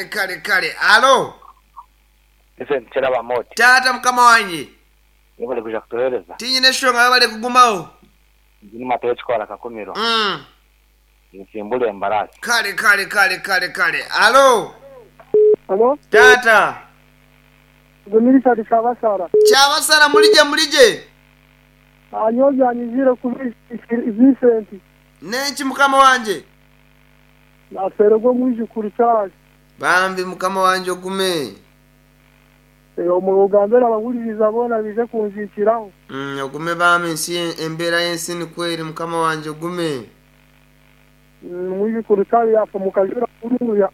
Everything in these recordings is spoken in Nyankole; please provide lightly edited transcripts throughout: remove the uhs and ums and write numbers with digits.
Kale kale alo. Vincent Kyeraba Moti. Taata mukama wangye. Webale kwija kutuhereza. Tinyine eshonga webale kugumaho. Nzi ni Matayo Kikora Kakumiro. Ninsimbura embaraasi. Kale kale kale kale kale alo. Alo. Taata. Nze ni Richard Kyabasara. Kyabasara murigye murigye. Nyowe byanyiziire kubi Vincent. Nenki mukama wangye? Nafeererwa omwijukuru Charles. Bambi mukama wangye ogume. Ogambire abahuririza boona baije kunziikiraho. Ogume bambi ensi embeera y'ensi nikwo eri mukama wangye ogume. Omwijukuru Charles yaafa omu kajura kuruuya.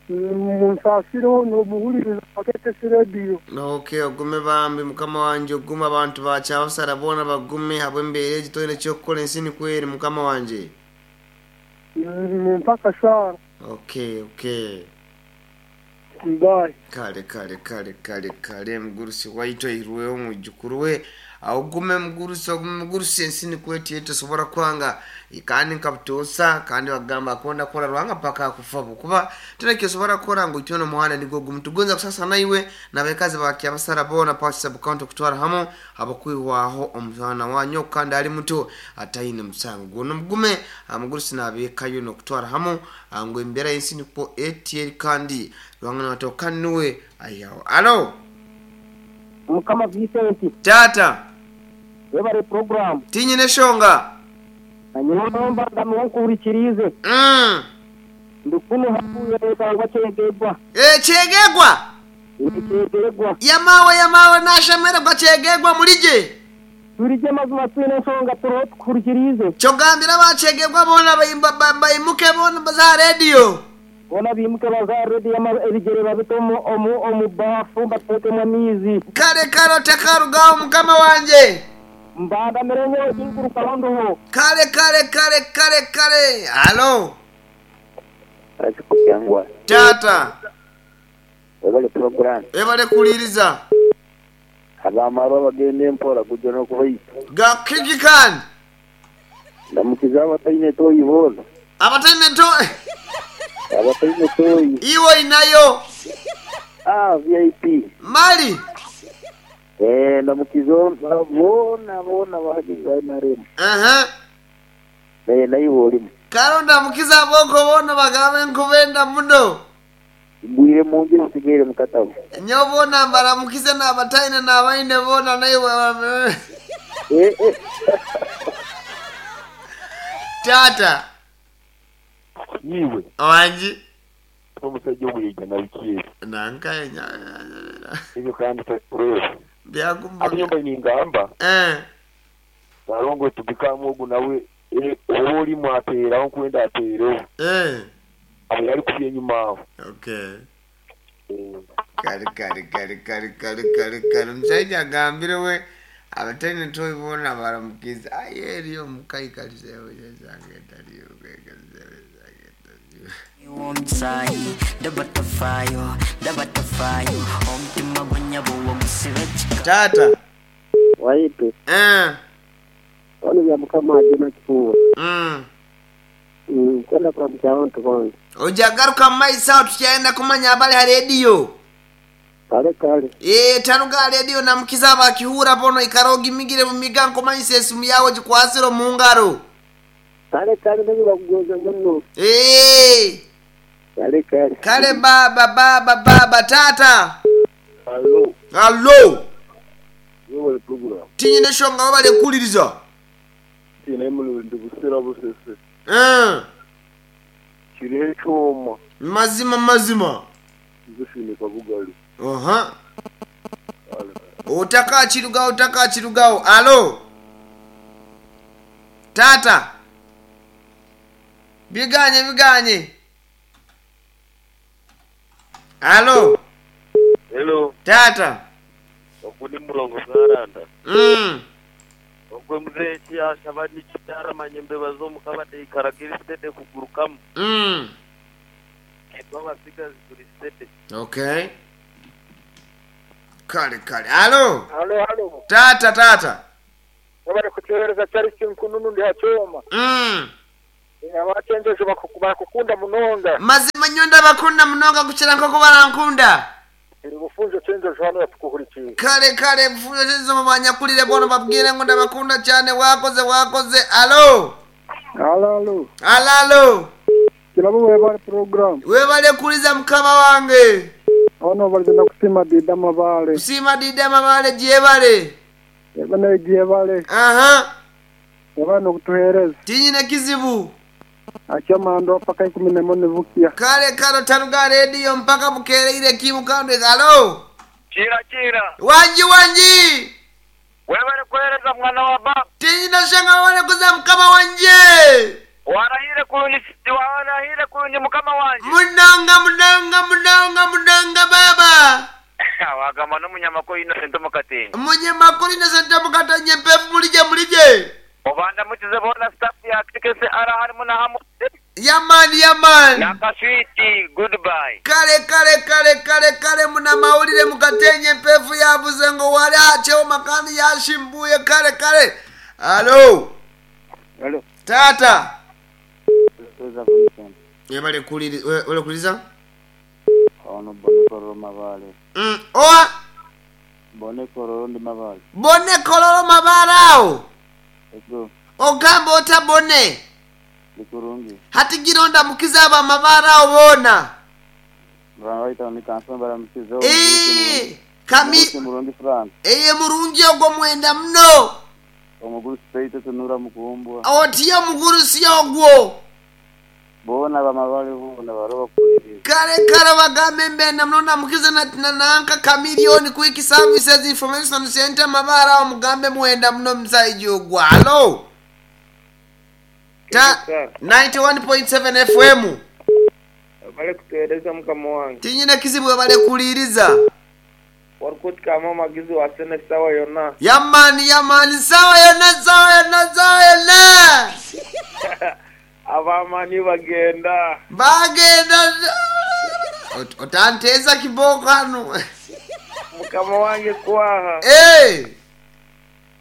Munsaasireho n'omuhuririza wa KTC Radio. Ok ogume bambi mukama wangye ogume abantu ba Kyabasara boona bagume ahabw'embeera egi toine ky'okukora ensi nikwo eri mukama wangye. Mumpe akashaara. Ok ok. Bye. Kale kale kale kale kale mugurusi waitu aihirweho omwijukuru we. Ogume mugurusi ogume mugurusi ensi nikwo eti tosobora kwanga kandi nka butoosa kandi bagamba akonda kukora Ruhanga paka akufa habwokuba toine ekyosobora kukora ngu itwena omuhanda nigwo gumu. Tugonza kusasa naiwe nabekazi ba Kyabasara boona Pachi Sub County okutwara hamu habwokwihwaho omwana wanyu kandi ali muto ataine musango gwona. Mugume mugurusi nabekayo nokutwara hamu ngu embera yensi nikwo eti eri kandi Ruhanga natoka nuwe aihaho. Alo. Mukama Vincent. Taata. Webare program. Tinyine eshonga. Nyowe nomba nkuhurikiriize. Ndi kunu hakuya nitangwa Kyegegwa. Eh Kyegegwa. Kyegegwa. Yamawe yamawe nashemererwa Kyegegwa murigye. Turigye mazima twine enshonga turiho tukuhurikiriize. Kyogambira aba Kyegegwa boona baimuke boona baze aha rediyo. Boona baimuke baze aha rediyo ebigyere babite omu baafu bateekemu amaizi. Kare kare otakarugaho mukama wangye. Mbandamire nyowe tinkurugaho ndiho. Kare kare kare kare kare halo. Taata. Webale puroguramu. Webale kuhuririza. Abamarwa bagyende mpora gugye n'okubaita. Ga kiki kandi? Ndamukize abataine toyi boona. Abataine toyi? Abataine toyi. Iwe oinayo? Ah, VIP. Mali? Eh, ndamukize boona boona abahagizi ba NRM. Aha. Eh, naiwe orimu. Kare ondamukize ab'okwo boona obagambe nkubenda muno. Ngwire munju nsigaire mu katabo. Nyowe boona mbaramukize n'abataine n'abaine boona naiwe Taata. Iwe. Wangi. Omusajja ogu yaija na biki ebyo? Nanka Ebyo kandi toreeba. Byaguma. Hati nyowe mbaire ningamba. Eh. Salongo tubikamu ogu nawe oba orimu ateeraho nkwenda ateereho. Eh. Aho yari kubi enyima aho. Okay. Kare kare kare kare kare kare kare omushaija agambire we abataine toyi boona baramukize aye eriyo omukaikalize Taata. Waitu. Eh. Ono bya mukama ajuna kifuba. Nkwenda kuramukya abantu boona. Oja garuka mu maiso aho tukyayenda kumanya abali ha rediyo. Kale kale. Eeh taruga aha rediyo namukiza abakihuura boona oikare ogimigire bumiga nkumanyisa esimu yaawe ogikwasire omu ngaro. Kale kale nyowe bakugonza muno. Eeh. Kale kale. Kale baaba baaba baaba taata. Hallo. Hallo. Webale program. Tinyine nshonga webale kuhuririza. Tiine murundi Busira Busese. Eeh. Kiriho ekyoma. Mazima mazima. Josephine Kabugali. Oha. Otakakirugaho otakakirugaho. Alo. Taata. Biganye biganye. Alo. Hello. Taata. Ogu ni Mulongo Bwaranda. Mm. Ogwe muzeeyi eki yaashaba nikyo kyaramanya embeba z'omuka bateikaraga eri steady kugurukamu. Mm. Itwe abatsigazi turi steady. Okay. Kale kale. Alo. Halo halo. Taata taata. Webale kutuhereza Charles Nkununu ndi ha kyoma. Mm. Abakyenjejo barakukunda munonga. Mazima nyowe ndabakunda munonga kukira nk'oku barankunda. Iri bufunjo kyenjejo hano yatukuhurikiye. Kale kale bufunjo kyenjejo mubanyakulire boona babwire ngu ndabakunda cyane wakoze wakoze. Alo. Alo alo. Alo alo. Kirabo webale program. Webale kuliza mukama wange. Ono baligenda kusima Dida Mabale. Kusima Dida Mabale gyebale. Eba nayo gyebale. Aha. Webale n'okutuheereza. Tinyine kizibu. Akyamando paka 14 nivukia. Kale kale taruga radio mpaka bukereire kimukandwe alo. Kira kira. Wanji wanji. Webale kuhereza mwana wa baba. Tinyine shanga wale kuza mukama wanje. Warahire kurungi warahire kurungi mukama wanje. Munonga munonga munonga munonga baba. Wagamba n'omunyamakuru Innocent Mukatenyi. Munyamakuru Innocent Mukatenyi mpefu mulije mulije. Obanda mukize bona staff ya KCR harimu na hamu. Yaman yaman. Nakaswiti goodbye. Kale kale kale kale kale muna mawulire Mukatenyi mpefu yavuze ngo wali acheho makani yashimbuye kale kale. Alo. Alo. Tata. Yebale kuliriza kuliza? Ono bone kororo mabale. Oa? Bone kororo ndi mabale. Bone kororo mabale awo. Ego. Ogamba ota bone. Nikurungi. Hati gironda mukiza aba mabale awo bona. Mrangaita ni kanso bara mukizo. Kami. Murungi Frank. Murungi ogwo mwenda mno. Omuguru speite tunura mukumbwa. Otiyo muguru si ogwo. Bona bamabale bona baroba kuliriza. Kale kale bagambe mbenda mnona mukize na nanka Chameleone Quick Services Information Center mabara awo mugambe mwenda mno msaiji ogwo. Alo. Ta 91.7 FM. Bale kutueleza mukama wange. Tinyine kizibu bale kuliriza. Warikuti kama magizi wa sene sawa yona. Yamani yamani sawa yona sawa yona sawa yona. Abamani bagenda. Bagenda. Otanteza kiboko hano. Mukama wange kwaha.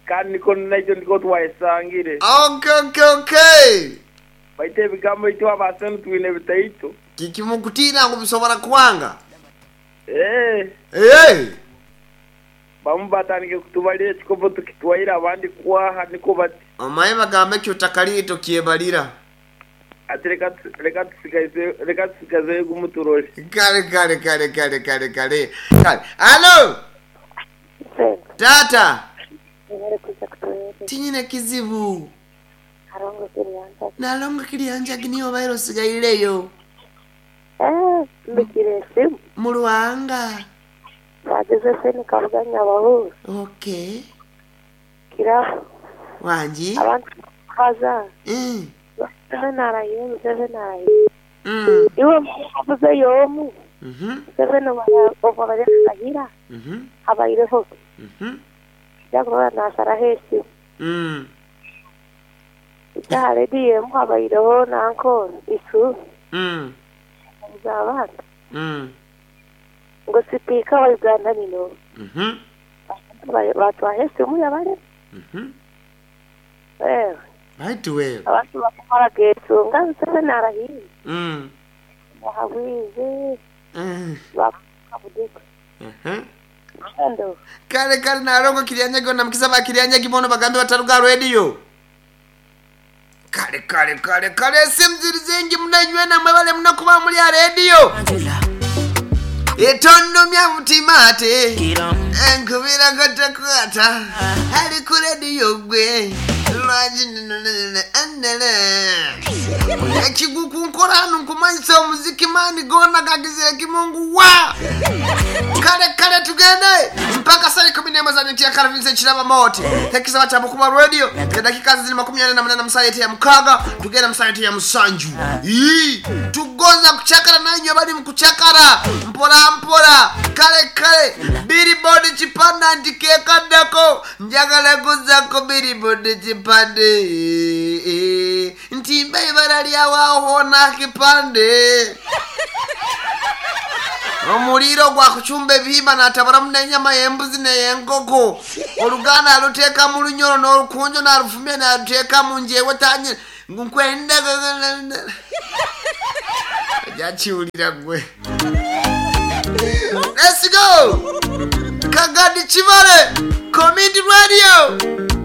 Kandi niko najo ndiko twayisangire. Okay. Baite ebigambo itu abasene twine bitaito. Kikimukutira ngo bisobora kwanga. Bamu batandike kutubalira ekikopo tukitwaira abandi kwaha niko bati. Omaye bagambe ekyo takalito kyebalira. Ati reka tusigaze gumuturore. Kale. Kale. Alo. Tata. Tinyine kizibu. Nalongo kilianja giniyo bairo sigaileyo. Mbikire simu. Mulwanga. Bageze seni kavuganya abahuza. Okay. Kirafu. Wanji. Abantu baza. Seven naraye. Iwe mwavuze yomu. Seven obabale kagira. Abayireho. Yakora nasara hesi. Itare diye mwabayireho nanko isu. Zabana. Ngo sipika wa Uganda nino. Batwahe simu yabale. Right well. Abantu bakumara getu nga narahi. Wahawize. Bakabudika. Kale kale nalongo kilianyagi na mkiza ba kilianyagi bono bagambe bataruga radio. Kale kale kale kale simziri zengi mnanywe na mwebale mnakuba muli ya radio. Etondo mya mutimate. Enkubira gotakwata. Ali ku radio gwe. Ekiguku nkora hano nkumanyisa omuziki mani gona gagizire kimungu wa kale kale tugende mpaka saa 11 za nyuki ya Karavinse chiraba moti tekisaba cha Bukuba radio dakika zili 48 msayete ya mukaga tugenda msayete ya musanju tugoza kuchakara nanyo bali mkuchakara mpora mpora kale kale billboard chipanda ndikeka dako njagala kuzako billboard chipande ntimbe ibara lyawaho na kipande omuliro gwa kuchumba ebihimba n'atabulamu n'ennyama y'embuzi n'ey'enkoko oluganda aluteeka mu lunyolo n'olukunjo n'alufumya n'aluteeka mu njewe tanye Ngu nkwenda Ojakiwulira gwe. Let's go! Kagadi Kibale, Community Radio.